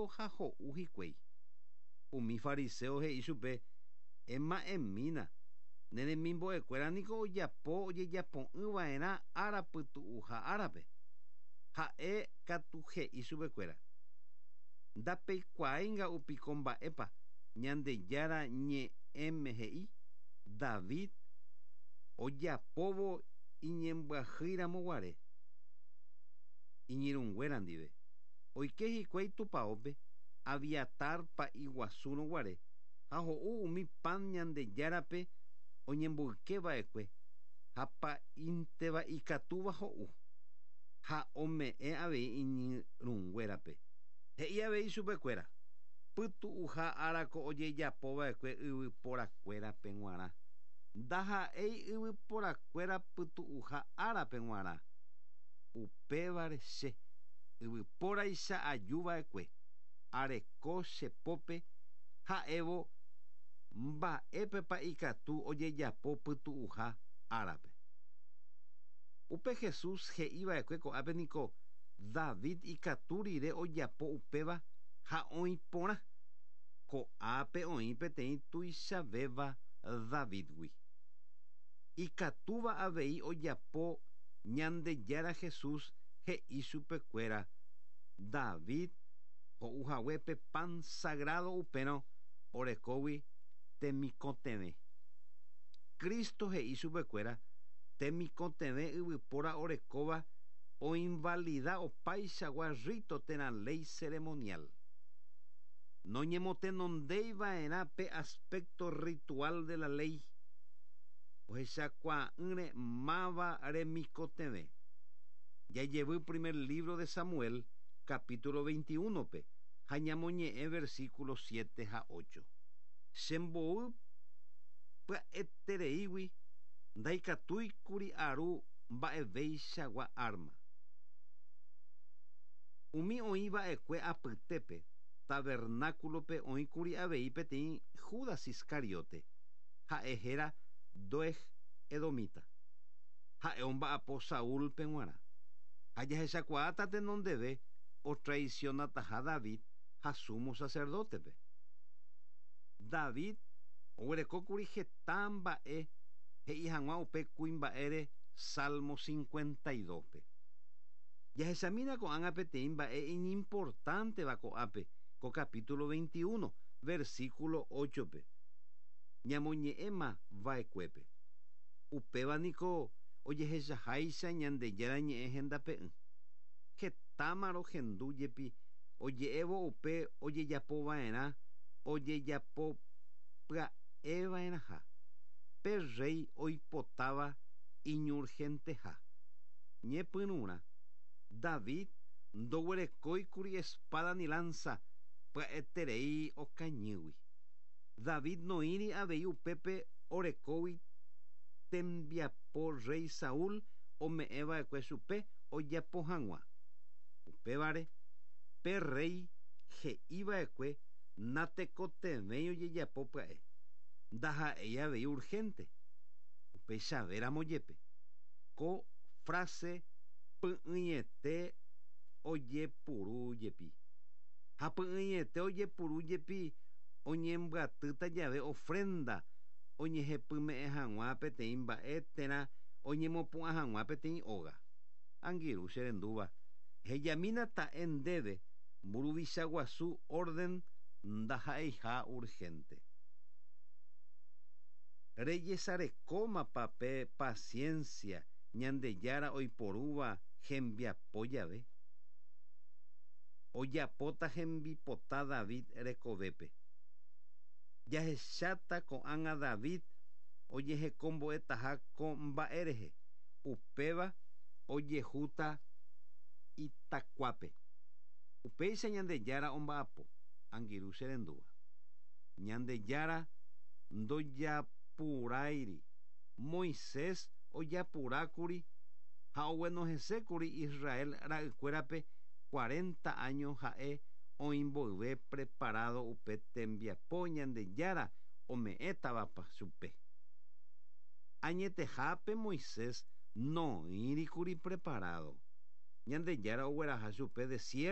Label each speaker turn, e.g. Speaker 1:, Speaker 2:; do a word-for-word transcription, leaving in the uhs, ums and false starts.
Speaker 1: trígo ha ho'u hikuái. Umi fariseo he'i chupe ema'ẽmína ne remimbo'ekuéra niko ojapo ojejapo'ỹva'erã ára pytu'uha árape. Ha'e katu he'i chupekuéra. Ndapeikuaáinga'upiko mba'épa Ñandejára ñe'ẽme he'i David ojapóvo iñembyahýiramoguare iñirũnguéra ndive. Oike hikuái tupãópe Abiatar pa'i guasúrõguare ha ho'u umi pan Ñandejárape oñemboykeva'ekue ha pa'ínteva ikatúva ho'u ha ome'ẽ avei iñirũnguérape. He'i avei chupekuéra pytu'uha árako ojejapova'ekue yvyporakuérape g̃uarã. Ndaha'éi yvyporakuéra pytu'uha árape g̃uarã. Upévare che yvypóraicha ajuva'ekue areko che pópe ha'évo mba'épepa ikatu ojejapo pytu'uha árape. Upe Jesús he'iva'ekue ko'ápe niko David ikatu rire ojapo upéva ha oĩ porã. Ko'ápe oĩ peteĩ tuichavéva Davidgui. Ikatúva avei ojapo Ñandejára Jesús he'i chupekuéra David ho'uhaguépe pan sagrado upérõ orekógui temikotevẽ. Cristo he'i chupekuéra temikotevẽ yvypóra orekóva oinvalida opaichagua rito térã ley ceremonial. Noñemotenondeiva'erã pe aspecto ritual de la ley. Ohechakuaa'ỹre máva remikotevẽ. Jajevy primer libro de Samuel, capítulo veintiuno-pe, ha ñamoñe'ẽ versículo siete ha ocho. Chembou pya'etereígui ndaikatúikuri aru mba'eveichagua arma. Umi oĩva'ekue apytépe tabernáculope oĩkuri avei peteĩ Judas Iscariote, ha'e héra Doeg Edomita. Ha'e omba'apo Saúlpe g̃uarã. Ha jahechakuaáta tenondeve otraicionataha David ha sumo sacerdotepe. David oguerekókuri heta mba'e he'i hag̃ua upe kuimba'ére Salmo cincuenta y dos-pe. Jahechamína ko'ág̃a peteĩ mba'e iñimportánteva ko'ápe ko capítulo veintiuno, versículo ocho-pe. Ñamoñe'ẽma va'ekuépe. Upéva niko ojehechaháicha Ñandejára ñe'ẽ hendape'ỹ. Hetáma rohendu jepi oje'évo upe ojejapova'erã ojejapo pya'eva'erãha. Pe rey oipotáva iñurgenteha. Ñepyrũrã David ndoguerekóikuri espada ni lanza pya'eterei okañýgui. David noĩri avei upépe orekógui tembiapo rey Saúl ome'ẽva'ekue chupe ojapo hag̃ua. Upévare pe rey he'iva'ekue natekotevẽi ojejapo pya'e. Ndaha'éi avei urgente. Upeichavéramo jepe. Ko frase py'ỹiete ojepuru jepi. Ha py'ỹiete ojepuru jepi oñembyatýta jave ofrenda oñehepyme'ẽ hag̃ua peteĩ mba'e térã oñemopu'ã hag̃ua peteĩ óga. Angirũ che rendúva hejamína ta'e ndéve mburuvicha guasu orden ndaha'eiha urgente. Rejesarekómapa pe paciencia Ñandejára oiporúva hembiapo jave. Ojapóta hembipota David rekovépe. Jahecháta ko'ág̃a David ojehekombo'etaha ko mba'e rehe. Upéva ojehúta itakuápe. Upéicha Ñandejára omba'apo angirũ che rendúva. Ñandejára ndojapuráiri. Moisés ojapurákuri ha oguenohẽsékuri Israel ra'ykuérape cuarenta años ha'e oĩmboyve preparado upe tembiapo Ñandejára ome'ẽtavapa chupe. Añetehápe Moisés noĩrikuri preparado. Ñandejára ogueraha chupe desierto